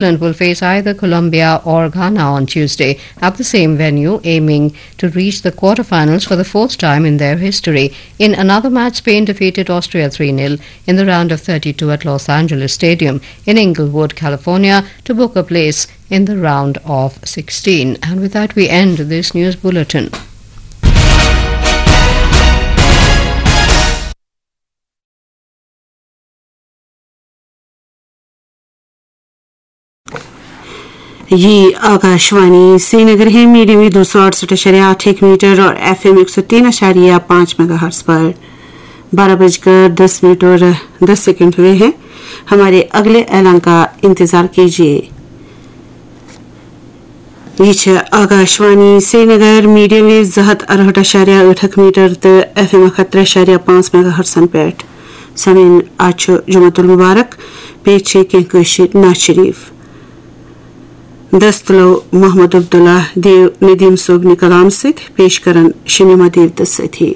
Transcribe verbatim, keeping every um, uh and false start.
England will face either Colombia or Ghana on Tuesday at the same venue, aiming to reach the quarterfinals for the fourth time in their history. In another match, Spain defeated Austria three nil in the round of thirty-two at Los Angeles Stadium in Inglewood, California, to book a place in the round of sixteen. And with that, we end this news bulletin. ये आकाशवाणी श्रीनगर है। Medium wave दो सौ अड़सठ इशारे आठ एक metre और FM एक सौ तीन इशारे पाँच मेगाहर्ट्ज पर। बारह बजकर दस मिनट और दस सेकंड हुए हैं। हमारे अगले ऐलान का इंतजार कीजिए। ये छे आकाशवाणी श्रीनगर। मीडियम वेव زٕ ہَتھ اَرہٲٹھ اَشاریہ ٲٹھ اَکھ میٖٹر تہٕ ایف ایم اَکھ ہَتھ ترٛےٚ اَشاریہ پانٛژھ میگا ہرٹزن پٮ۪ٹھ۔ سامعین، آز چھُ جمعہ المبارک، پیش چھِ کینٛہہ کٲشِر نعت شریف۔ دست تُلو محمد عبداللہ دیو ندیم صٲبنہِ کلام سۭتۍ، پیش کرن شمیمہ دیو تہٕ سٲتھی۔